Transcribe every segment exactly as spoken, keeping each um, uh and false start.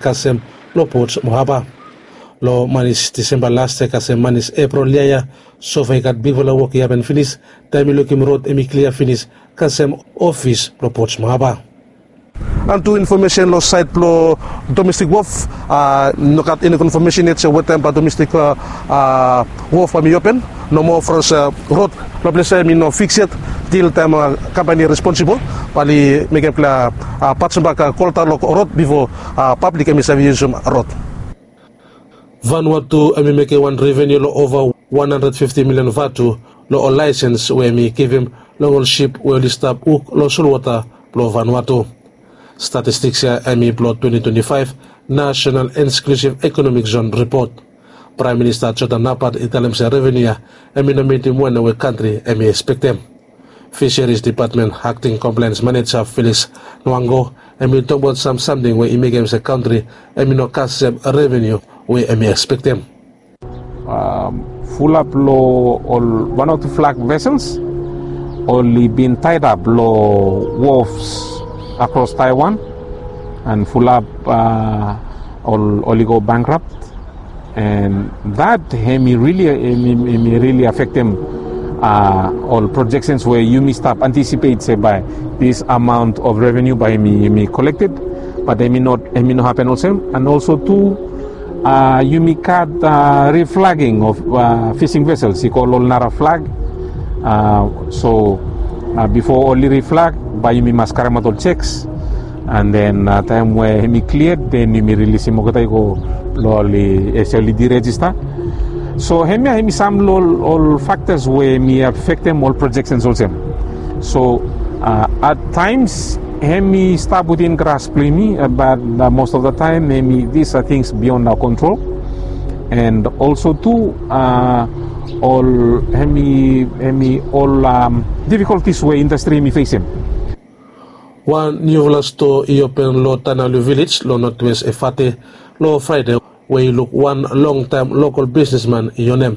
kasem long Port Moaba. Long manis Disemba las yia kasem manis Epril yia ya, sofa i gat bigfala wok i hapen finis taem i lukim rod hem i klia finis kasem ofis blong Port Moaba. Antu infomesen long saed blong domestik wof, a, no gat eni konfamesen yet se wetem bae domestik, a, a, wof bae mi open. Nomo from se rod long ples ya hem i no fiks yet. Til taem, a, kampani responsibol bae oli mekem klia, a, patsembak, a, kolta long rod bifo, a, pablik hem i save yusum rod. Vanuatu hem i mekem wan revenu long ova wan handred fifti milian vatu long ol laesens we hem i givim long ol sip we oli stap huk long solwota blong Vanuatu. Statistiks ya hem i blong twenti twenti faef National Exclusive Economic Zone Report. Praem Minista Jota Napat i talem se revenu ya hem i no mitim wanem we kantri hem i ekspektem. Fisheries Dipatmen Akting Komplaens Maneja Felix Nwango hem i tokbaot sam samting we i mekem se kantri hem i no kasem revenu we hem i ekspektem. Fulap long ol Vanuatu flag vesels oli bin taedap long wofs akros Taiwan, and fulap, a, ol, oli go bankrupt. And that hem i rili, hem i, hem i rili afektem, a, ol projeksens we yumi stap antisipet se bae this amount of revenue bae hem i, hem i kolekted, bat hem i no, hem i no hapen olsem. And also tu, a, yumi gat, a, reflagging of, a, fishing vessels i go long ol nara flag. A, so, a, bifo oli reflag bae yumi mas karemaot ol jeks. And then, a, taem we hem i klia, then yumi rilisim olgeta i go long oli, e, se oli direjista. So hemia hem i sam long ol, ol faktas we hem i afektem ol projeksens olsem. So, a, at taems hem i stap wetem gras blong yumi, a, bat, a, most of the time hem i, these are things beyond our control. And also tu, a, ol, hem i, hem i ol, a, difikoltis we indastri hem i fesem. Wan niufala stoa i open long Tanaliu Vilej long notwes Efate long Fraede, we i luk wan longtaem lokol bisnesman i onem.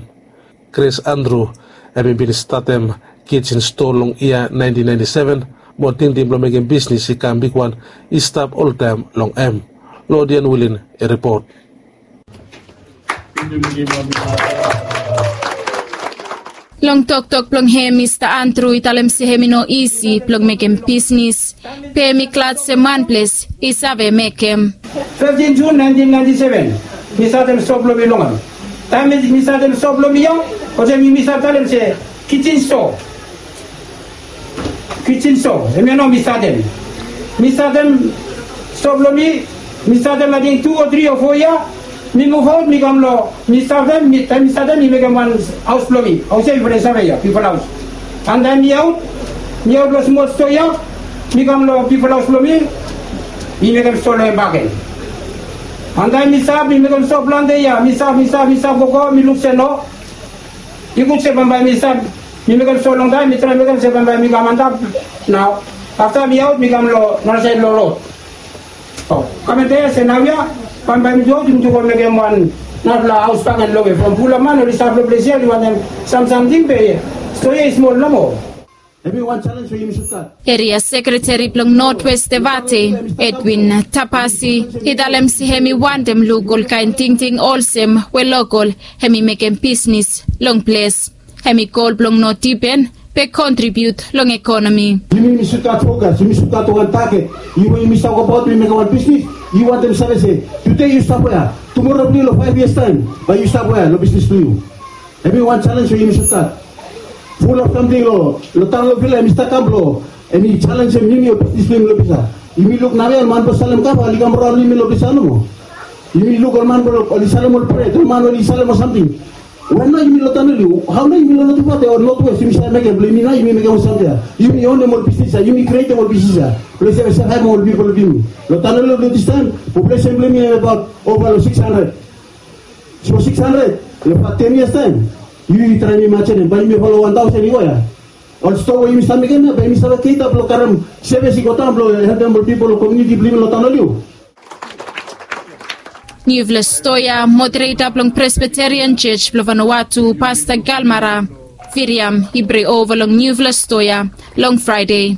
Chris Andrew hem i bin statem kijin stoa long yia naentin naenti seven, mo tingting blong mekem bisnes i kam bigwan i stap oltaem long hem. Lodian Wilin i ripot. Long toktok blong hem, Mista Andru i talem se hem i no isi blong mekem bisnis, be hem i glad se manples i save mekem. Fiftin Jun naentin naenti seven, mi statem stoa blong mi long hem. Taem mi, mi statem stoa blong mi ya, olsem mi, mi save talem se kijin stoa. Kijin stoa, hemia nao mi statem. Mi statem stoa blong mi, mi statem ating tu o tri o fo yia. Mi muvaot, mi kam long, mi statem, mi, taem mi statem, mi mekem wan haos blong mi. Haos ya yufala i save ya, bigfala haos. And taem mi aot, mi aot long smol stoa ya, mi kam long bigfala haos blong mi, mi mekem stoa long hem bakegen. And taem mi stap, mi mekem stoa plante yia, mi stap, mi stap, mi stap gogo, mi luk se no. I gud se bambae mi stap, mi mekem stoa longtaem, mi traem mekem se bambae mi kam antap nao. Afta mi aot, mi kam long narasaed long rod. O, kam ya se naoia, bambae mi tu aot, mi tu go mekem wan narafala haos bakegen long we from fulap man oli stap long ples ya, oli wantem sam samting be stoa ya i smol nomo. Hemi wan jalenj we yumi sud gat. Eria sekreteri blong Notwest Evate, Edwin Tapasi, i talem se hemi wantem luk olkaen tingting olsem we lokol hemi mekem bisnis long ples. Hemi gol blong no dipen be kontribiut long ekonomi. Yumi, yumi sud gat fokas, yumi sud gat wan taget. Yu we yumi stap abaot yumi mekem wan bisnis, yu wantem save se tude yu stap wea, tumora blong yu long faef yias taem bae yu stap wea long bisnis blong yu. Hemi wan jalenj we yumi sud gat. Fulap samting long, long taon long vila hemi stap kam blong hemi jalenjem yumi ol bisnis blong yumi long ples ya. Yumi luk naoia ol man blong salem kava oli kam raon long yumi long ples ya nomo. Yumi luk ol man blong oli salem ol bred, ol man oli salem ol samting. Wanem nao yumi long taon long yumi, hao nao yumi long lotu vate o Notwes yumi save mekem blong yumi nao yumi mekem ol samting ya. Yumi onem ol bisnis ya, yumi krietem ol bisnis ya blong i save sevaevem ol pipol blong yumi. Long taon long yumi long distaem populesen blong yumi hem abaot ova long sikis handred. So sikis handred long ten yias taem, yu traem imajenem, bae yumi folem wan taosen i go ya. Ol stoa we yumi stap mekem ya bae yumi save keita blong karem sevis i go daon blong helpem ol pipol long komuniti blong yumi long taon long yumi. Niufala stoa ya, modereta blong Presbyterian Church blong Vanuatu, Pasta Galmara Viriam, i prea ova long niufala stoa ya long Fraede.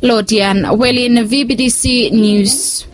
Lodian Welin, V B T C News.